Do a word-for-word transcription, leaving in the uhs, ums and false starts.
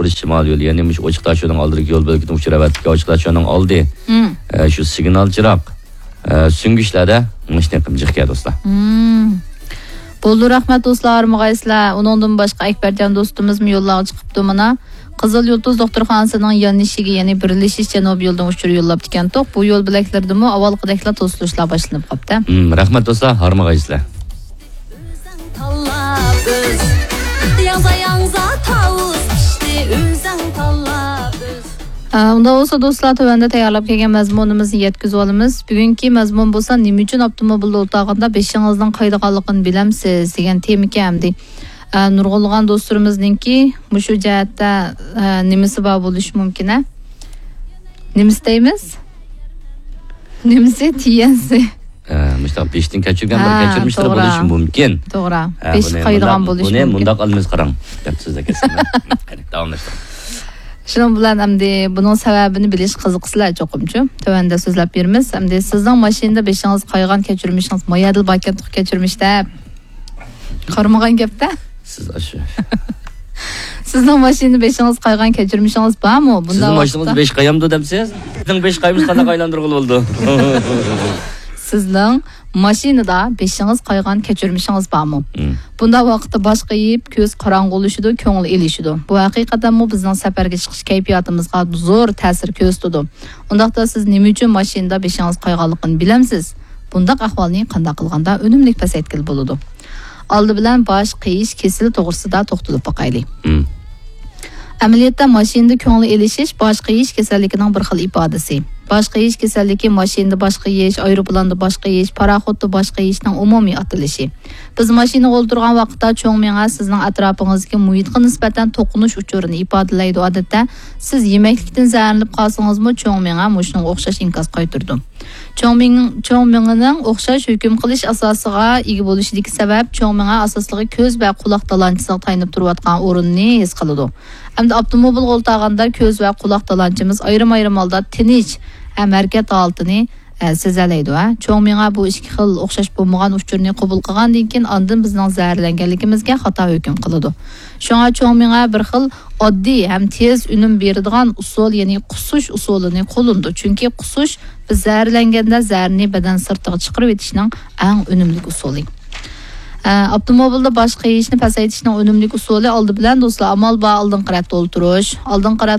بىر شىمال يولى، يەنى مۇشۇ ئوچۇق تاشيولنىڭ ئالدىدىكى يول بۆلىكىدىن ئۇچۇر ئەۋەتىدىكەن. ئوچۇق تاشيولنىڭ ئالدى، مم. ئە، شۇ سىگنال چىراغ، ئە، سۈڭگۈچلەردە مۇشۇنى قىلىپ جىق كەلدى، دوستلار. مم. بولدى، رەھمەت، دوستلار، ھارمىغايسىلەر. ئۇنىڭدىن باشقا ئەكبەرجان دوستىمىزمۇ يوللارغا چىقىپتۇ مانا. قىزىل يۇلتۇز دوختۇرخانىسىنىڭ يانلىشىگە، يەنى بىرلىشىش جەنۇبىي يولىدىن ئۇچۇر يوللاپتىكەنتۇق. بۇ يول بۆلەكلىرىدىمۇ ئاۋۋالقىدەكلا توسۇلۇشلار باشلىنىپ قاپتۇ. مم، رەھمەت، دوستلار، ھارمىغايسىلەر. ئۆزۈڭ تاللاپ ئۆز. ياڭزا ياڭزا تاۋۇز پىشتى، ئۆزۈڭ تاللاپ ئۆز. ئە، ئۇنداق بولسا، دوستلار، تۆۋەندە تەييارلاپ كەلگەن مەزمۇنىمىزنى يەتكۈزۈۋالىمىز. بۈگۈنكى مەزمۇن بولسا، نېمە ئۈچۈن ئاپتوموبىلدا ئولتۇرغاندا بېشىڭىزنىڭ قايىدىغانلىقىنى بىلەمسىز؟ دېگەن تېمىكەن ئەمدى. ئە، نۇرغۇنلىغان دوستلىرىمىزنىڭكى مۇشۇ جەھەتتە، ئە، نېمىسى بار بولۇشى مۇمكىن، ھە؟ نېمىسى دەيمىز؟ نېمىسى؟ تىيەنسى. ئە، مۇشۇنداق بېشىدىن كەچۈرگەن بىر ھە، كەچۈرمىشلىرى توغرا. بولۇشى مۇمكىن. توغرا. ھە، بېشى بۇنى قايىدىغان مۇنداق، بولۇشى بۇنى مۇمكىن. مۇنداق ئالىمىز قاراڭ. دەپ سۆزلەپ كەتسەم. قېنى، داۋاملاشتۇرۇڭ. شۇنىڭ بىلەن ئەمدى بۇنىڭ سەۋەبىنى بىلىش قىزىقىسىلەر چوقۇمچۇ. تۆۋەندە سۆزلەپ بېرىمىز. ئەمدى سىزنىڭ ماشىنىدا بېشىڭىز قايغان كەچۈرمىشىڭىز، ما يەردىلا باركەنتۇق كەچۈرمىش دەپ. قارىمىغان گەپتە. سىز ئاشۇ. سىزنىڭ ماشىنىدا بېشىڭىز قايغان كەچۈرمىشىڭىز بارمۇ؟ بۇنداق سىزنىڭ ماشىنىڭىزدا ۋاقىتتا بېشى قايامدۇ دەمسىز؟ سىزنىڭ بېشى قايمىسا قانداق ئايلاندۇرغىلى بولىدۇ؟ سىزنىڭ ماشىنىدا بېشىڭىز قايغان كەچۈرمىشىڭىز بارمۇ؟ مم. بۇنداق ۋاقىتتا باش قېيىپ، كۆز قاراڭغۇلىشىدۇ، كۆڭۈل ئېلىشىدۇ. بۇ ھەقىقەتەنمۇ بىزنىڭ سەپەرگە چىقىش كەيپىياتىمىزغا زور تەسىر كۆرسىتىدۇ. ئۇنداقتا سىز نېمە ئۈچۈن ماشىنىدا بېشىڭىز قايغانلىقىنى بىلەمسىز؟ بۇنداق ئەھۋالنى قانداق قىلغاندا ئۈنۈملۈك پەسەيتكىلى بولىدۇ؟ ئالدى بىلەن باش قېيىش كېسىلى توغرىسىدا توختىلىپ باقايلى. مم. ئەمەلىيەتتە ماشىنىدا كۆڭۈل ئېلىشىش باش قېيىش كېسەللىكىنىڭ بىر خىل ئىپادىسى. باش قېيىش كېسەللىكى ماشىنىدا باش قېيىش، ئايروپىلاندا باش قېيىش، پاراخوتتا باش قېيىشنىڭ ئومۇمىي ئاتىلىشى. بىز ماشىنىغا ئولتۇرغان ۋاقىتتا چوڭ مېڭە سىزنىڭ ئەتراپىڭىزدىكى مۇھىتقا نىسبەتەن توقۇنۇش ئۇچۇرىنى ئىپادىلەيدۇ. ئادەتتە سىز يېمەكلىكتىن زەھەرلىنىپ قالسىڭىزمۇ، چوڭ مېڭە مۇشۇنىڭغا ئوخشاش ئىنكاس قايتۇرىدۇ. چوڭ مېڭ-، چوڭ مېڭىنىڭ ئوخشاش ھۆكۈم قىلىش ئاساسىغا ئىگە بولۇشىدىكى سەۋەب، چوڭ مېڭە ئاساسلىقى كۆز ۋە قۇلاق تالانچىسىغا تايىنىپ تۇرۇۋاتقان ئورۇننى ھېس قىلىدۇ. ئەمدى ئاپتوموبىلغا ئولتۇرغاندا كۆز ۋە قۇلاق تالانچىمىز ئايرىم-ئايرىم ھالدا تىنچ ھەم ھەرىكەت ھالىتىنى، ئە، سېزەلەيدۇ، ھە. چوڭ مېڭە بۇ ئىككى خىل ئوخشاش بولمىغان ئۇچۇرنى قوبۇل قىلغاندىن كېيىن، ئاندىن بىزنىڭ زەھەرلەنگەنلىكىمىزگە خاتا ھۆكۈم قىلىدۇ. شۇڭا چوڭ مېڭە بىر خىل ئاددىي ھەم تېز ئۈنۈم بېرىدىغان ئۇسۇل، يەنى قۇسۇش ئۇسۇلىنى قوللىنىدۇ. چۈنكى قۇسۇش بىز زەھەرلەنگەندە زەھەرنى بەدەن سىرتىغا چىقىرىۋېتىشنىڭ ئەڭ ئۈنۈملۈك ئۇسۇلى. ئە، ئاپتوموبىلدا باش قېيىشنى پەسەيتىشنىڭ ئۈنۈملۈك ئۇسۇلى ئالدى بىلەن، دوستلار، ئامال بار ئالدىنقى رەتتە ئولتۇرۇش. ئالدىنقى رەتتە